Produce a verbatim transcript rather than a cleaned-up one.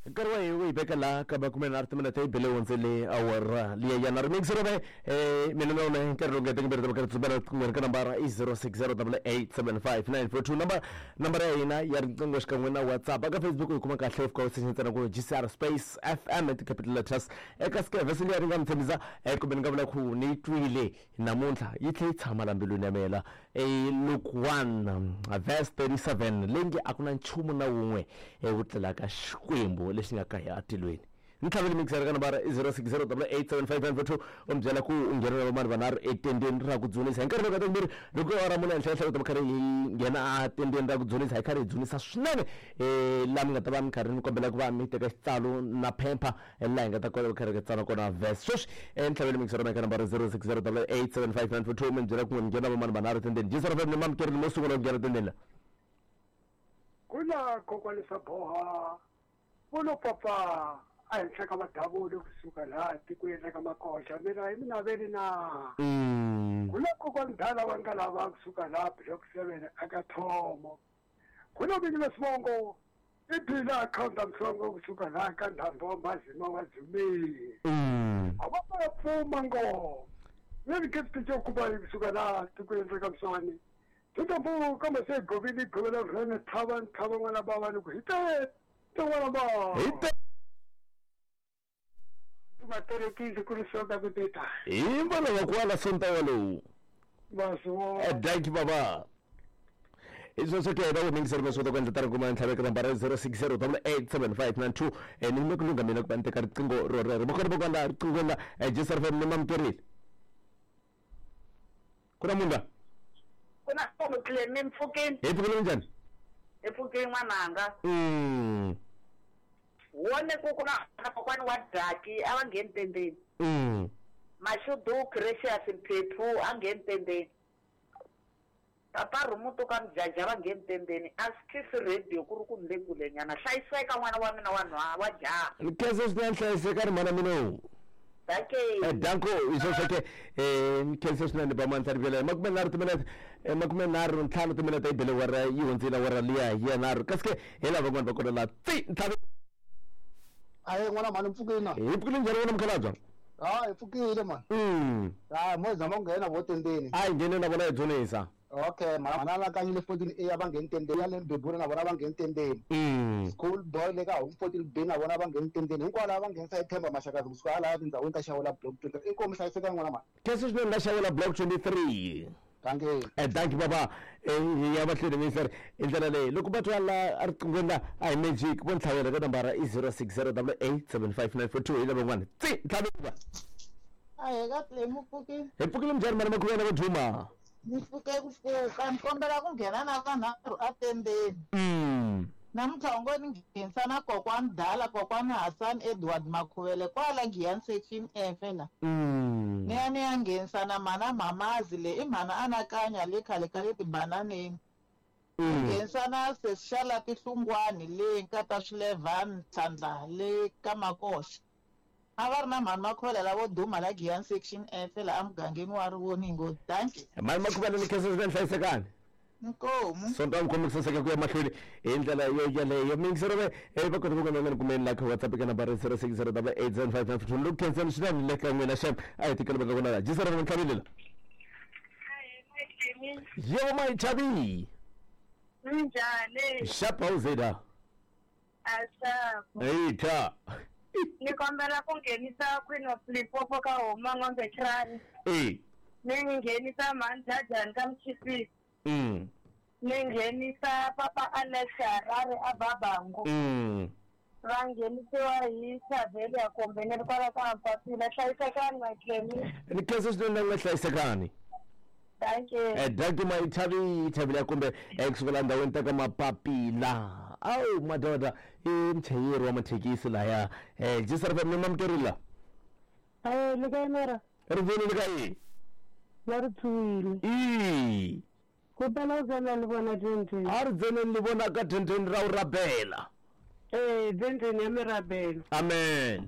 Nkarhi wa hina wu hi veka laha ka makume nharhu timinete yi bele hundzele awara liya ya nharhu mixero ve eh mina na wena nkarhi lowu nga teka mbirhi karhi tsubela kun'we ka nambara i zero six zero double eight seven five nine four two number nambara ya hina ya riqingho xikan'we na WhatsApp eka Facebook hi kuma kahle fika u secha ntsena ku G C R space F M hi ti-capital letters eka ske vhesi liya ri nga mi tshembisa eh kumbe ni nga vula ku ni yi twile namuntlha yi tlhe yi tshama la mbilwini ya mina e Luke one verse thirty-seven leyi nge a ku na nchumu na wun'we wu tlelaka Xikwembu lexi nga ka hi atilweni. Ni tlhavele mixer ka nambara i zero six zero eight eight seven five nine four two u mi byela ku u nghena na vamani vanharhu etendeni ra ku dzunisa hi nkarhi lowu ka timbirhi loko awara mune henhla henhla u ta va karhi hi nghena a tendeni ra ku dzunisa hi karhi hi dzunisa swinene um laha mi nga ta va mi karhi ni kombela ku va mi teka xitsalo na phepha laha hi nga ta kota ku karhi hi tsala kona verse sweswi um ni tlhavele mixer ka nambara zero six zero eight eight seven five nine four two mi byela ku mi nghena vamani vanharhu etendeni Jesara ni mamukerile mo sungula ku nghena tendeni la. Kula kokwani swa boha volo papa a henhla ka madavula kusuka laha tikweni ra ka Makoxa mina hi mina veli na Mm. kula kokwani dala wa nga lava kusuka laha block seven aka thomo kula vinyi va swivongo i bila akhawunti mhlongo kusuka laha ka ndhambo wa mazima wa dzumile Mm. a va va pfuma ngo veli gift xo kuba kusuka laha tikweni ra ka Mswani tikambu kambe se govile govela rhene thava nthava n'wana bava ni ku hi te te n'wana bava hi te va terekisi ku ri soka ku tita hi mbala wa kwala sonta walowu. Vaswo. Danki baba hi sweswo ke va mingiseri va swi kota ku endla tani kuma ntlhaveko nambara zero six zero eight eight seven five nine two eh ni le ku lungha mina ku va ni teka riqingho ro rero va kona va kwala riqingho la Jesar F M ni mamukerile ku na munhu la. Ku na munhu Clemi mpfukeni. Hi pfukile njhani? Hi pfukile n'wananga. mm Wone ku ku na kokwani wa daki a va ngheni tendeni. mm Mashudu Precious Mphephu a ngheni tendeni. Papa Rhumutu ka Mjaja va ngheni tendeni. A swi khisi radio ku ri ku ni le kulenyana. Hlayiseka n'wana wa mina wa nhwa wa jaha. Ni khensa swinene hlayiseka ri mana mina. Danke. Eh, danko hi sweswo ke eh ni khensa swinene ba mandla rivela makume nharhu timinete eh, makume nharhu ntlhanu timinete yi bele wara yi hundzile wara liya hi ya nharhu kasi ke hi lava van'wani va kona la tsi ntlhanu. Aye n'wana mhani mpfukile na. Hi pfukile njhani wena mukhalabye? Ha hi pfukile mani. mm Ha mo zama ku nghena vo tendeni. A hi ngheni na vona hi dzunisa. Okay mara mana la kanyile fourteen A va ngheni tendeni ya le Mbebula na vona va ngheni tendeni. mm School boy le ka home fourteen B na vona va ngheni tendeni hinkwavo lava va nghenisa hi Themba Mashakazi kusuka hala tindhawini ta Xawula block twenty inkomu hlayiseka n'wana mhani. Khensa swinene la Xawula block twenty-three. Danke. Eh danki baba eh hi ya mahlweni mingiseri hi ndlela leyi loko va twa la a riqinghweni la a hi magic vo ntlhavela ka nambara i zero six zero eight eight seven five nine four two hi lava van'wana tsi ntlhavela. Ahee ka Clemi pfukile. Hi pfukile njhani mana makhuvela vo duma? Ni pfuke ku pfuka ni kombela ku nghena na vanharhu atendeni. mm Namuntlha u ngo ni nghenisa na kokwani Dala kokwani Hassan Edward Makhuvele kwala Giyani section F la. mm Ni ya ni ya nghenisa na mana Mamazi le i mhana anakanya le khale ka le tibananeni. mm Nghenisa na sesi Tihlungwani le nkata Swilevani Tlhandla le ka Makoxa. A va ri na mhani Makhuvele lavo duma la Giyani section F la emugangeni wa Rivoningo. Dankie. Mani makhuvela ni khensa swinene hlayisekani. Inkomu. Sonto mi khomi ku saseka ku ya mahlweni hi ndlela yo yeleyo mingisero ve eh va kota ku kona ni kumeni la ka WhatsApp ka nambara zero six zero eight eight seven five nine four two loko khensani swinene le ka n'wina xem a hi tikela va ka kona la jisara va ntlhavile la. Yebo mayichabi. Minjhani? Xapa uzeda. Asapo. Hey ta. Ni kombela ku nghenisa Queen of Limpopo ka Homa N'ombe Trani. Eh. Ni nghenisa Mhanjajani ka Mchisisi. mm Ni nghenisa Papa Alex Harare a Babangu. mm Va nghenisiwa hi Xavelia kumbe ni ri kwala ka Mpapila. Hlayisekani Matlemi. Ni khensa swinene nga hlayisekani. Thank you. Eh danki mayithavi thavile kumbe eh kusukela ndhawini ta ka Mapapila awu madoda i muchayeri wa mathekisi laya eh jisara fa mi mamukerile. Ayi le kae mara? Ri voni le ka yi. Va ri tshwile. I Kutani u tsena ni vona twenty. A ri dzeneni ni vona ka twenty ra u rabela. Eh, twenty ya mirabelo. Amen.